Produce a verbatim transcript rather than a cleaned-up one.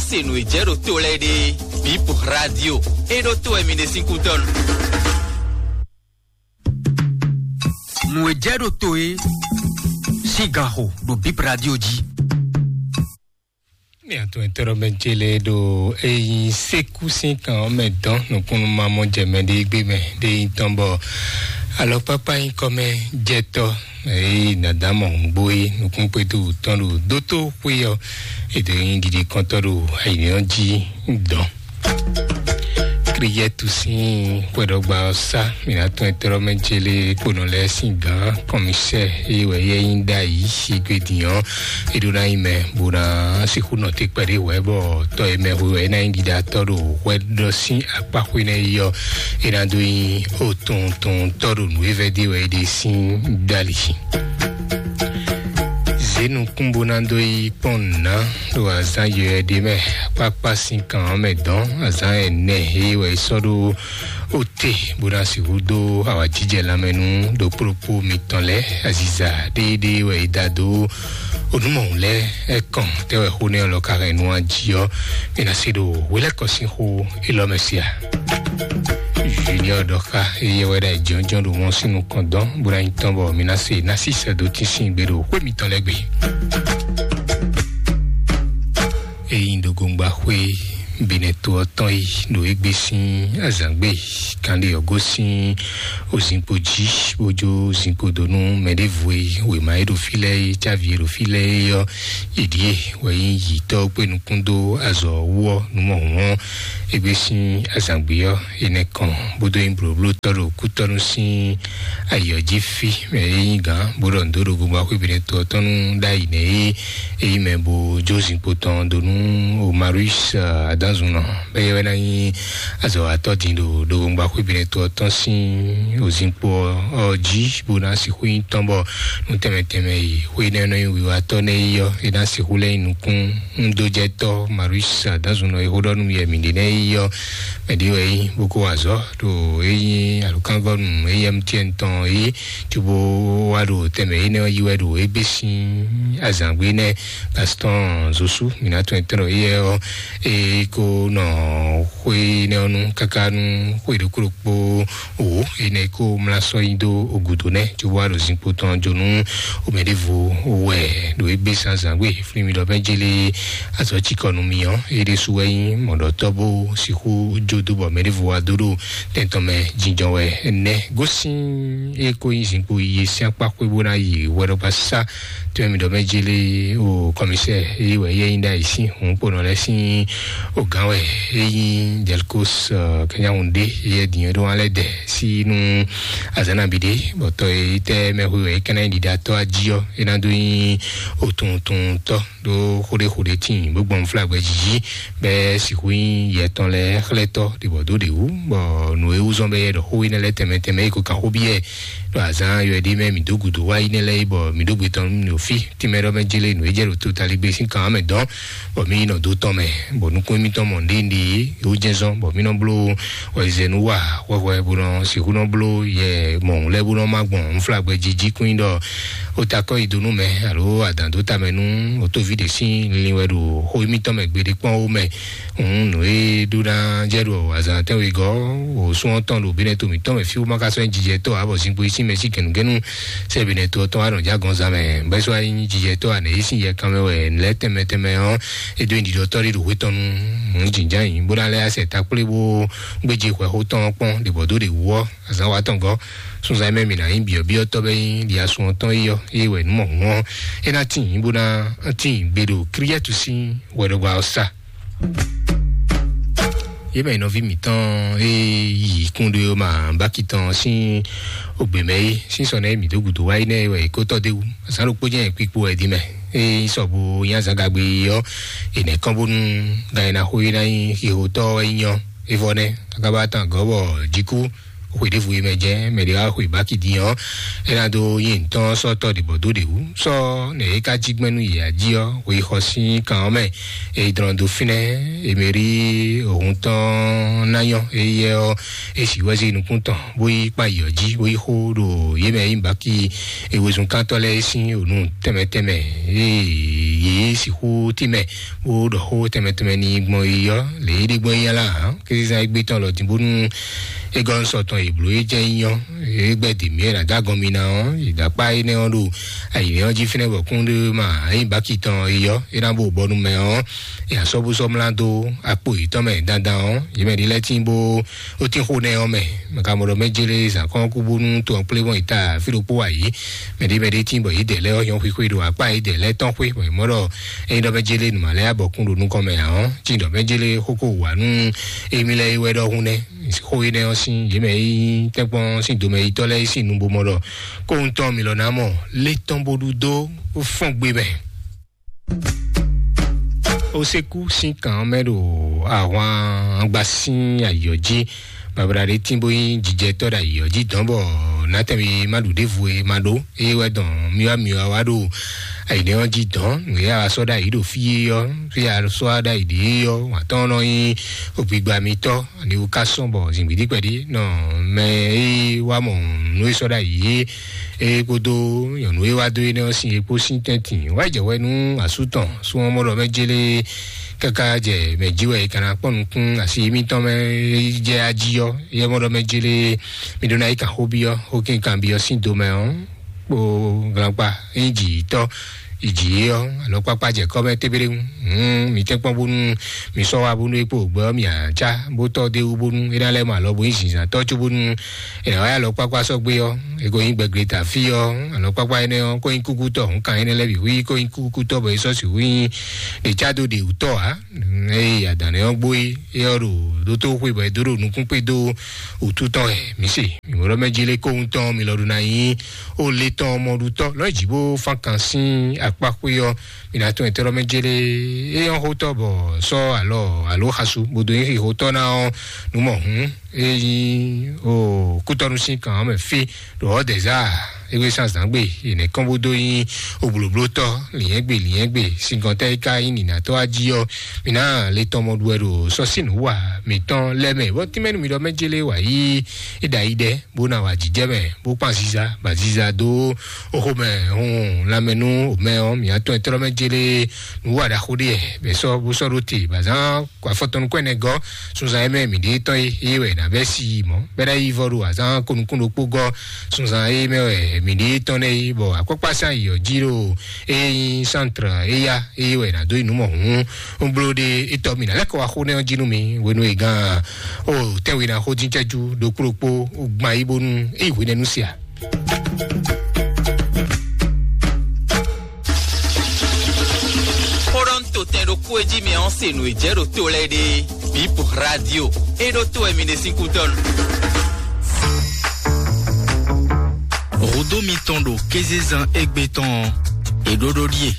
Se nǔ e jɛ ɖo to lɛ́ɛ ɖe, Bip Radio, e ɖo to wɛ mi ɖe sín kútɔ́ nu. Nǔ e jɛ ɖo to e sín gan xo ɖo Bip Radio jí. Ní àtúntò mɛ jele ɖo eyi sékú sín kan ɔ́ mɛ dɔn nukúnnú ma mɔ jɛ mɛ ɖé gbé mɛ ɖé yi tɔn bɔ alɔkpákpá nyí kɔmɛ jɛtɔ eyi dada mɔ hungbo yi nukún kpédú tɔn ɖo dótó xwé ɔ, èdè nyi ɖiɖi kɔntɔ́ ɖo ayǐnɔ jí dɔn. Kriyɛtu sín xwedɔgba ɔ́ sá mǐnátɔn ɛtɛ́rɔ́mɛ jélé kponɔ lɛ́ɛ sín gǎn kɔmísɛ́ eye wɛ yɛ nyí ɖ'ayǐ sígbédin ɔ́, é ɖó ná nyí mɛ bó ná sixú nɔ te kpɛɖé hwɛ̌ bɔ tɔ́ e mɛ hwe wɛ é ná nyí ɖiɖatɔ́ ɖo hwɛ ɖɔ sín akpá xwé nɛ́ yi ɔ́, é ná dó nyí otɔntɔntɔ́ ɖo nǔ e vɛ́ ɖe wɛ é ɖe sín dali. Zě nukún bó ná dó yi kpɔ́n nǔ ná ɖo azǎn yɔ̌yɔ́ ɖé mɛ, akpákpá sín kan ɔ́ mɛ dɔn azǎn ɛnɛ e wɛ é sɔ́ ɖó ote bó ná sixú dó awǎjijɛ lanmɛ nú ɖokpóɖokpó mitɔn lɛ́ɛ aziza ɖéeɖée wɛ é da dó onúmɔ̀hún lɛ́ɛ. Ɛkɔn tɛ́ wɛ xó nɛ́ ɔ́ lɔ ka hɛn nú ají ɔ́, mi ná se ɖo hwelɛ́kɔ sín xó élɔ́ mɛ se a? Junior ɖɔ xá eyɛ wɛ ɖo ayǐjínjɔ́n ɖo mɔ sín nukɔn dɔn bó ná nyí tɔn bɔ mi ná se ná sísɛ dó tín sín gbe ɖo xwé mitɔn lɛ́ɛ gbe. Eyi ɖo gongba xwé binɛ to ɔ́ tɔn yi ɖo égbé sín azǎngbe kanɖe ɔ́ gosín ozinkpo jí bó jó zinkpo dó nú mɛ ɖěvo e wěma e ɖo fí lɛ́ɛ é cávi e ɖo fí lɛ́ɛ é ɔ́, yě ɖíe wɛ nyí yǐtɔ́ kpé nukún dó azɔ̌ wú ɔ́ nú mɔ hǔn ɔ́, égbé sín azǎngbe ɔ́, è nɛ kɔn bó dó nyí blǒblótɔ́ ɖo kútɔ́nú sín ayǐ ɔ́ jí fí mɛ e nyí gǎn bó ɖɔ nǔ dó ɖo gomba xwé binɛ to ɔ́ tɔn nú ɖ'ayǐ nɛ́ é é nyí mɛ bó jó zinkpo tɔn dó nú Marius Adanzunɔ bɔ é wɛ ná nyí azɔ̌watɔ́ din ɖo ɖo gomba xwé binɛ to ɔ́ tɔn sín ozinkpo ɔ́ jí bó ná sixú nyí tɔn bɔ nú tɛnmɛ tɛnmɛ e xwé nɛ́ nɔ nyí wiwatɔ́ nɛ́ é ɔ́, é ná sixú lɛ́ nyí nukún ŋdójɛtɔ́ Marius Adanzunɔ e xó ɖɔ nú yɛ mǐ ɖe nɛ́ é ɔ́, mɛ ɖé wɛ é nyí bó kó wa azɔ̌ ɖo é nyí alukánvɔ́nu éyɛ́mtíɛn tɔn é cóbó wá ɖo tɛnmɛ énɛ́ ɔ́ yí wɛ ɖo égbé sín azǎngbe nɛ́. Gaston Zosu mǐ ná tɔn tɔn ɖɔ éyɛ́ ɔ́ é kó nɔ xwé énɛ́ ɔ́ nú káká nú xwé ɖokpó ɖokpó wǒ énɛ́ kó mlá sɔ́ nyi dó gǔdo nɛ́ cóbó wá ɖo zinkpo tɔn jó nú mɛ ɖěvo wɛ ɖo égbé sín azǎngbe. Flín mi ɖɔ bɛ́ jélé azɔ̌ cikɔ nú mi ɔ́, é ɖésú wɛ nyí mɔ̌ɖɔtɔ́ bó sixú jó dó bɔ mɛ ɖěvo wá dó ɖo tɛn tɔn mɛ jínjɔ́n wɛ nɛ́. Gosín é kó nyí zinkpo yiyi sín akpá xwé bó ná yi hwɛɖɔgbasá tɔn mi ɖɔ mɛ jélé o kɔmísɛ é wɛ yɛ nyí ɖ'ayǐ sín hǔnkponɔ lɛ́ɛ sín o gǎn wɛ é nyí Delcos Kɛnyáhun ɖé yɛ dǐn é ɖó wá lɛ́ dɛ sí nú azǎn nabí ɖé bɔ tɔ e tɛ mɛ hwe wɛ é kɛ́n ná nyí ɖiɖatɔ́ ají ɔ́, é ná dó nyí otun otun tɔ́ ɖó xó ɖé xó ɖé tíin bó gbɔn flágbɛ jiji bɛ sixú nyí yɛ tɔn lɛ́ɛ xlɛ́tɔ́ ɖibɔ dó ɖě wú, bɔ nǔ e wú zɔ́n bɛ yɛ ɖɔ xó énɛ́ lɛ́ɛ tɛnmɛ tɛnmɛ é ko kan xó byɔ́ ɛ ɖo azǎn yɔ ɖé mɛ mǐ dó gǔdo wá yi nɛ́ lɛ́ɛ é bɔ mǐ ɖó gbe tɔn nú mì fí tínmɛ ɖɔ mɛ jélé nǔ e jɛ ɖo to taligbé sín kan mɛ dɔn bɔ mí yi nɔ dó tɔn mɛ, bɔ nukún émítɔn mɔ nɖénɖé é wú jɛ́n zɔ́n bɔ mí nɔ bló wɛzɛnú wa hwɛhwɛ bó nɔ sixú nɔ bló yɛ mɔ̌hun lɛ́ɛ bó nɔ má gbɔn nflágbɛ jiji kún nyí ɖɔ ó ta kɔ́ yi dó nú mɛ alo adǎn dó ta mɛ nú otóví ɖě sín linlin wɛ ɖo xó émítɔn mɛ gbeɖé kpɔ́n ó mɛ. Hǔn nǔ e ɖó ná jɛ ɖo azǎn tɛ́nwegɔ́ wǒ sún ɔ́ tɔn ɖo bínɛ to mǐtɔn mɛ fí wú má ka sɔ́ nyí jijɛtɔ́ ǎ bɔ zinkpo yi sín mɛ sí gɛ̌nugɛ̌nu sɛ́ bínɛ to ɔ́ tɔn wá nɔ jɛ agɔnzán mɛ bɛ́ sɔ́ wá nyí jijɛtɔ́ ǎ nɛ̌ yí sín yɛ kanmɛ wɛ lɛ̌ tɛnmɛ tɛnmɛ ɔ́ é dó nyi ɖiɖɔtɔ́ ɖé ɖo hwé tɔn nu hǔn jǐnján yǐ bó ná lɛ́ asɛ takplé bó gbéje hwɛ̌xó tɔn ɔ́ kpɔ́n ɖě bɔ dó ɖě wú ɔ́ azǎn wa tɔn gɔ́ sunzán mɛ mǐ ná nyí byɔ̌byɔ́tɔ́ bɛ́ nyí ɖi asun ɔ́ tɔn yi ɔ́ é wɛ nǔ mɔ hǔn ɔ́ é ná tíin bó ná tíin gbe ɖo kíríyɛ́tu sín hwɛɖɔgba ɔ́ sá. Yě mɛ nɔví mǐtɔn e yi kún ɖó ma báki tɔn sín ògbè mɛ é sín sɔ nɛ mǐ dó gǔdo wá yi nɛ wɛ é kó tɔ́ dé wú. Azǎn ɖokpó jẹ́ kpikpo wɛ dí mɛ. É sɔ bo nyí azǎn gagbe ɔ́, è nɛ̌ kɔn bónú gan e ná xo é ná nyí xixotɔ́ wɛ nyí ɔ́. É vɔ nɛ́, káká bá tán gɔ̌ bɔ jí kú. Xwe ɖěvo e mɛ jɛ mɛ ɖě wá xwe báki din ɔ́, é ná dó nyi ntɔ́ sɔ́ tɔ́ ɖě bɔ dó ɖě wú sɔ́ nɛ é ka jí gbɛ́ nú yě ají ɔ́, xwe xɔ sín kan ɔ́ mɛ. É dlɔ́n dó fínɛ́, Emerí òhun tɔn ná nyɔ́, éyɛ́ ɔ́, é sǐ wɛ́ zé nukún tɔn, bó yi kpan yǐ ɔ́ jí, bó yi xó ɖo yě mɛ e nyí báki e wezunkántɔ́ lɛ́ɛ é sín ònú tɛnmɛ tɛnmɛ. Ee, yě sixú tínmɛ bó ɖɔ xó tɛnmɛ tɛnmɛ ní gbɔn yi ɔ́, lě é ɖe gbɔn yi ɔ́ lá, kézezán égbé tɔn lɔ dín bónú é gɔ́ sɔ tɔn è blǒ é jɛ nyí ɔ́, é gbɛ́ dě mì é ná dó agɔn mi ná ɔ́, è dó akpá énɛ́ ɔ́ ɖo ayǐ ɔ́ jí fínɛ́ bɔ kún ɖé ma é nyí báki tɔn yi ɔ́, é ná bó bɔnu mɛ ɔ́, è asɔ́búsɔ́ mlá dó akpo yětɔn mɛ dandan ɔ́, yě mɛ ɖé lɛ́ɛ tín bó ó tín xó nɛ́ ɔ́ mɛ. Mɛ ka mɔ ɖɔ mɛ jélé zǎn kɔn kú bónú to ɔ́ kplé mɔn yi ta fí ɖokpó wá yě. Mɛ ɖé mɛ ɖé tín bɔ yě dɛ lɛ́ɛ ɔ́ nyɔ́ xwixwe ɖo akpá yě dɛ lɛ́ɛ tɔn xwé bɔ è mɔ ɖɔ ényí ɖɔ mɛ jélé nǔ ma lɛ́ɛ abɔ kún ɖo nukɔn mɛ ǎ ɔ́, tín ɖɔ mɛ jélé xókó wǎ nú émí lɛ́ɛ é wɛ ɖɔhun nɛ́. Xó énɛ́ ɔ́ sín yě mɛ é nyí tɛ́nkpɔ́n sín domɛyitɔ́ lɛ́ɛ é sín nu bó mɔ ɖɔ kóhun tɔn mi lɔ ná mɔ lé tɔn bó ɖu dó fɔ́n gbe mɛ. Osekú sín kan ɔ́ mɛ ɖo ahwan gba sín ayǐ ɔ́ jí. Babla ɖé tín bó nyí jijɛtɔ́ ɖo ayǐ ɔ́ jí dɔn bɔ nátɛ́nmi ma ɖu ɖěvo e ma ɖó. Eye wɛ dɔn myɔ́ myɔ́ wá ɖo ayǐnɛ́ ɔ́ jí dɔn. Nǔ e a sɔ́ ɖo ayǐ ɖo fí é ɔ́, fí a sɔ́ ɖo ayǐ ɖě é ɔ́, wǎn tɔn nɔ nyí ogbigba mitɔ́. Ani wú ká sɔ́ bɔ zǐngbídí kpɛɖí nɔ mɛ e wá mɔ nǔ e sɔ́ ɖo ayǐ é, é kpódó nyɔ̌nu e wá dó énɛ́ ɔ́ sin é kpó sín tɛ́ntin wá jɛ wɛ nú asú tɔn súnmɔmɔ ɖɔ mɛ jélé káká jɛ mɛ jí wɛ é ka ná kpɔ́n nukún asi émítɔn mɛ é jɛ ají ɔ́, é mɔ ɖɔ mɛ jélé mi ɖó ná yi kan xó byɔ́ xó kínkan byɔ́ sín do mɛ ɔ́ kpo glakpa nyí jǐ tɔ́ ìjǐ ɔ́, alɔkpakpa jɛ kɔ́ mɛ tébéɖéŋu. Hǔn mi tɛ́nkpɔ́n bónú mi sɔ́ wá bónú é kpo gbɛ ɔ́ mi ǎ cá bó tɔ́ d'é wú bónú é ná lɛ́ mɔ alɔ bó nyí zǐnzǎntɔ́ có bónú è nǎ wá yí alɔkpakpa sɔ́ gbé ɔ́, é ko nyí gbɛgbléta fí ɔ́, alɔkpakpa énɛ́ ɔ́ ko nyí kúkútɔ́ hǔn kan énɛ́ lɛ́ɛ bǐ hu yí ko nyí kúkútɔ́ bɔ é sɔ́ sixú nyí ɖě cá dó ɖě wǔtɔ́ ǎ. Eye adǎn ɔ́ gbó é, é ɔ́ ɖo dótó xwe bɔ é dó ɖo nukún kpé dó wǔtu tɔn wɛ. Mǐ se mǐ mɔ ɖɔ mɛ jí lé kóhun tɔn mi lɔ ɖo ná nyí ó lé tɔn mɔɖutɔ́ lɔ́ jǐ bó fán kan sín akpá xwé ɔ́, mi ná tɔn ɛtɛ́ lɔ mɛ jélé é nyɔ́ xótɔ́ bɔ sɔ́ alɔ alo xasu bó dó nyí xixótɔ́ ná ɔ́ nú mɔ hǔn é nyí o kútɔ́nú sín kan ɔ́ mɛ fí ɖo ɔ́ dɛ̌ zá égbé sán zǎngbe yě nɛ́ kɔn bó dó nyí oblǒblótɔ́ lǐnyɛ́gbe lǐnyɛ́gbe síngɔntɛ́ é ká nyí nǐnátɔ́ ají ɔ́, mi ná le tɔn mɔ ɖu wɛ ɖo sɔ́ sín nǔ wa mǐtɔn lɛ́ɛ mɛ bɔ tínmɛ nú mi ɖɔ mɛ jélé wǎ yí é ɖo ayi ɖɛ bó ná wa jǐjɛ mɛ bó kpan ziza ba ziza dó oxo mɛ hun lanmɛ nú mɛ ɔ́ mǐ atɔn ɛtɔ́ mɛ jélé nǔ wa ɖaxó ɖé bɛ sɔ́ bó sɔ́ ɖó te bǎ zán kó afɔtɔn nukún ɛnɛ gɔ́ sunzan e mɛ mǐ ɖe tɔn e eye wɛ nǎ bɛ́ si yi mɔ̌ bɛ́ ná yi vɔ ɖo azán ko nukún ɖokpó gɔ́ sunzan e mɛ wɛ mǐ ɖe tɔn nɛ yi bɔ akpɔkpá sán yi ɔ́ jí ɖo e nyí sántrɛ eya eye wɛ nǎ dó yi nǔ mɔ hǔn un bló ɖe etɔ́ mǐ ná lɛ́ kɔ wá xó nɛ́ ɔ́ jí nú mi hwenu e gán o tɛ́nwe ná xó dín cɛ́jú ɖokpó ɖokpó gban yí bónú é yi hwenɛ́nu sia. Xó ɖɔ un to tɛn ɖokpó e jí mɛ ɔ́ se nǔ e jɛ ɖo to lɛ́ɛ ɖe. Bip radio. E ɖo to wɛ mi ɖe sín kútɔ́ nu. Hǔdó mitɔn ɖo kézezán égbé tɔn ɔ́, è ɖó ɖó ɖíe.